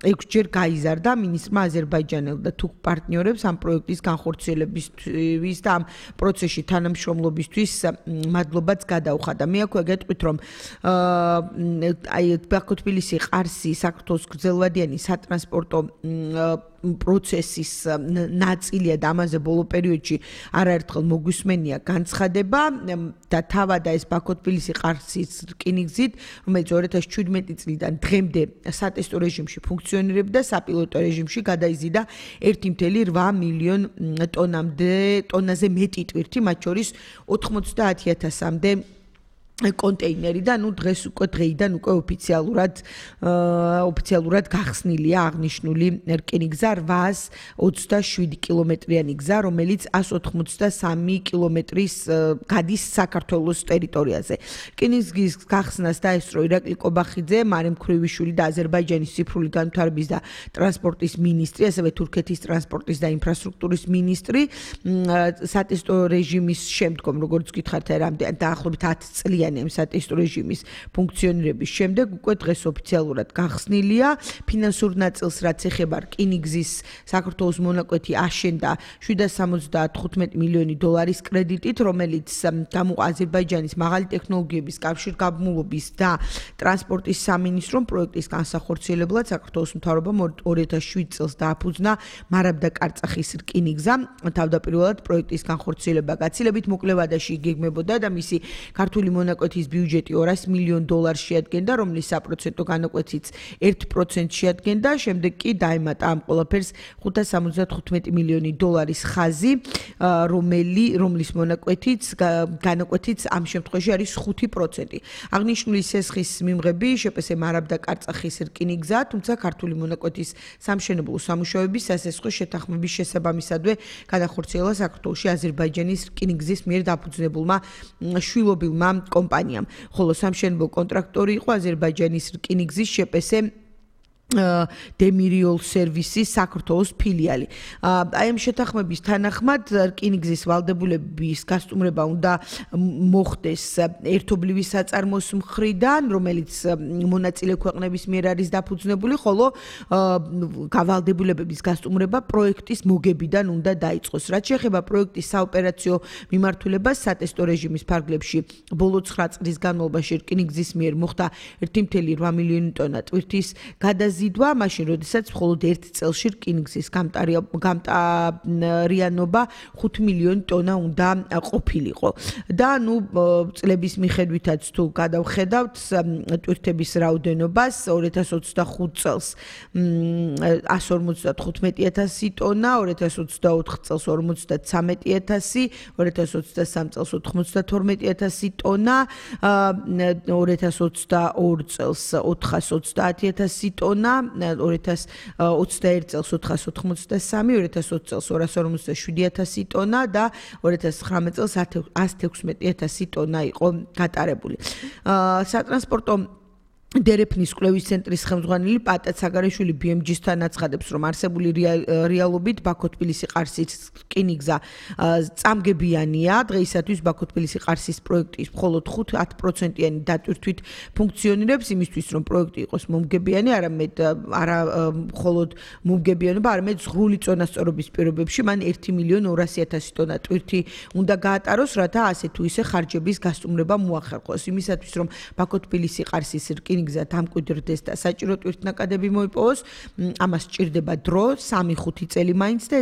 6-ჯერ გაიზარდა მინისტრმა აზერბაიჯანელ და თურქ პარტნიორებს ამ პროექტის განხორციელებისთვის და ამ პროცესში თანამშრომლობისთვის მადლობაც გადაუხადა. მე აქვე გეტყვით, რომ ბაქო-თბილისი-ყარსი საქართველოს გრძელვადიანი სატრანსპორტო პროცესის ნაწილია და ამაზე ბოლო პერიოდში არაერთხელ მოგვისმენია განცხადება და თავად ეს ბაქო-თბილისი-ყარსის რკინიგზით, რომელიც 2017 წლიდან დღემდე სატესტო რეჟიმში ფუნქციონირებდა, საპილოტო რეჟიმში გადაიზიდა 1.8 მილიონ ტონაზე მეტი ტვირთი, მათ შორის 90,000-მდე კონტეინერი და დღეს დღეიდან ოფიციალურად გახსნილია აღნიშნული რკინიგზა 827 კილომეტრიანი გზა, რომელიც 183 კილომეტრის გადის საქართველოს ტერიტორიაზე. რკინიგზის გახსნას დაესწრო ირაკლი კობახიძე, მარემ ქრივიშვილი და აზერბაიჯანის ციფრული განვითარების და ტრანსპორტის მინისტრი, ასევე თურქეთის ტრანსპორტის და ინფრასტრუქტურის მინისტრი. სატესტო რეჟიმის შემდგომ, როგორც გითხართ, დაახლოებით 10 წლიანი სატესტო რეჟიმის ფუნქციონირების შემდეგ უკვე დღეს ოფიციალურად გახსნილია. ფინანსურ ნაწილს, რაც ეხება რკინიგზის საქართველოს მონაკვეთი აშენდა 775 მილიონი დოლარის კრედიტით, რომელიც აზერბაიჯანის მაღალი ტექნოლოგიების კავშირგაბმულობის და ტრანსპორტის სამინისტრომ პროექტის განსახორციელებლად საქართველოს მთავრობამ 2007 წელს დააფუძნა მარაბდა კარწახის რკინიგზა. თავდაპირველად პროექტის განხორციელება გაცილებით მოკლე ვადაში იგეგმებოდა და მისი ქართული მონაკვეთის ბიუჯეტი 200 მილიონ დოლარს შეადგენდა, რომლის საპროცენტო განაკვეთიც 1% შეადგენდა. შემდეგ კი დაემატა ამ ყველაფერს 575 მილიონი დოლარის ხაზი, რომლის განაკვეთიც ამ შემთხვევაში არის 5%. აღნიშნული სესხის მიმღები შეპესე მარაბდა კარწახის რკინიგზა, თუმცა ქართული მონაკვეთის სამშენებლო სამუშაოების სასესხო შეთანხმების შესაბამისადვე განახორციელა საქართველოში აზერბაიჯანის რკინიგზის მიერ დაფუძნებულმა შვილობილმა კომპანიამ, ხოლო სამშენებლო კონტრაქტორი იყო აზერბაიჯანის რკინიგზის შეპესე დემირიოლ სერვისის საქართველოს ფილიალი. აი ამ შეთანხმების თანახმად რკინიგზის ვალდებულების გასტუმრება უნდა მოხდეს ერთობლივი საწარმოს მხრიდან, რომელიც მონაწილე ქვეყნების მიერ არის დაფუძნებული, ხოლო გავალდებულებების გასტუმრება პროექტის მოგებიდან უნდა დაიწყოს. რაც შეეხება პროექტის საოპერაციო მიმართულებას, სატესტო რეჟიმის ფარგლებში ბოლო 9 წლის განმავლობაში რკინიგზის მიერ მოხდა 1.8 მილიონი ტონა ტვირთის გადაზიდვა, მაშინ როდესაც მხოლოდ 1 წელში რკინიგზის გამტარიანობა 5 მილიონი ტონა უნდა ყოფილიყო. და წლების მიხედვითაც თუ გადავხედავთ ტვირთების რაოდენობას 2025 წელს 155,000 ტონა, 2024 წელს 53,000, 2023 წელს 92,000 ტონა, 2022 წელს 430,000 ტონა, 2021 წელს 483, 2020 წელს 247,000 ტონა და 2019 წელს 116,000 ტონა იყო გატარებული. სატრანსპორტო დერეფნის კვლევის ცენტრის ხელმძღვანელი პატა ცაგარეშვილი BMG-სთან აცხადებს, რომ არსებული რეალობით ბაქო-თბილისი-ყარსის რკინიგზა წამგებიანია. დღეისათვის ბაქო-თბილისი-ყარსის პროექტის მხოლოდ 5-10%-იანი დატვირთვით ფუნქციონირებს, იმისთვის რომ პროექტი იყოს მომგებიანი, არა მხოლოდ მომგებიანობა, არამედ ზღვრული წონასწორობის პირობებში მან 1,200,000 ტონა ტვირთი უნდა გაატაროს, რათა ასე თუ ისე ხარჯების გასტუმრება მოახერხოს. იმისათვის რომ ბაქო-თბილისი-ყარსის რკინიგზა დამკვიდრდეს და საჭირო ტვირთნაკადები მოიპოვოს, ამას სჭირდება დრო, 3-5 წელი მაინც და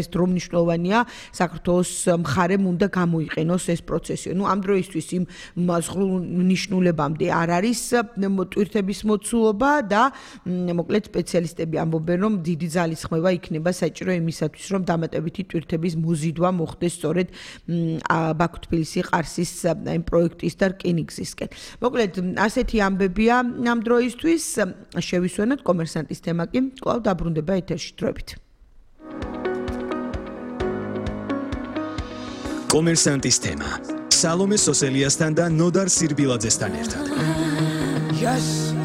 ეს დრო მნიშვნელოვანია საქართველოს მხარემ უნდა გამოიყენოს ეს პროცესი. ამ დროისთვის იმ ზღვრულ ნიშნულებამდე არ არის ტვირთების მოცულობა და მოკლედ სპეციალისტები ამბობენ, რომ დიდი ძალისხმევა იქნება საჭირო იმისათვის, რომ დამატებითი ტვირთების მოზიდვა მოხდეს სწორედ ბაქო-თბილისი-ყარსის იმ პროექტის და რკინიგზისკენ. მოკლედ ასეთი ამბებია ამ დროისთვის. შევისვენოთ კომერსანტის თემა კი კვლავ დაბრუნდება ეთერში დროებით. კომერსანტის თემა. სალომე სოსელიასთან და ნოდარ სირბილაძესთან ერთად. Yes.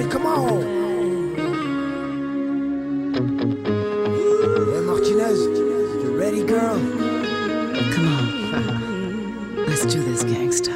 Come on.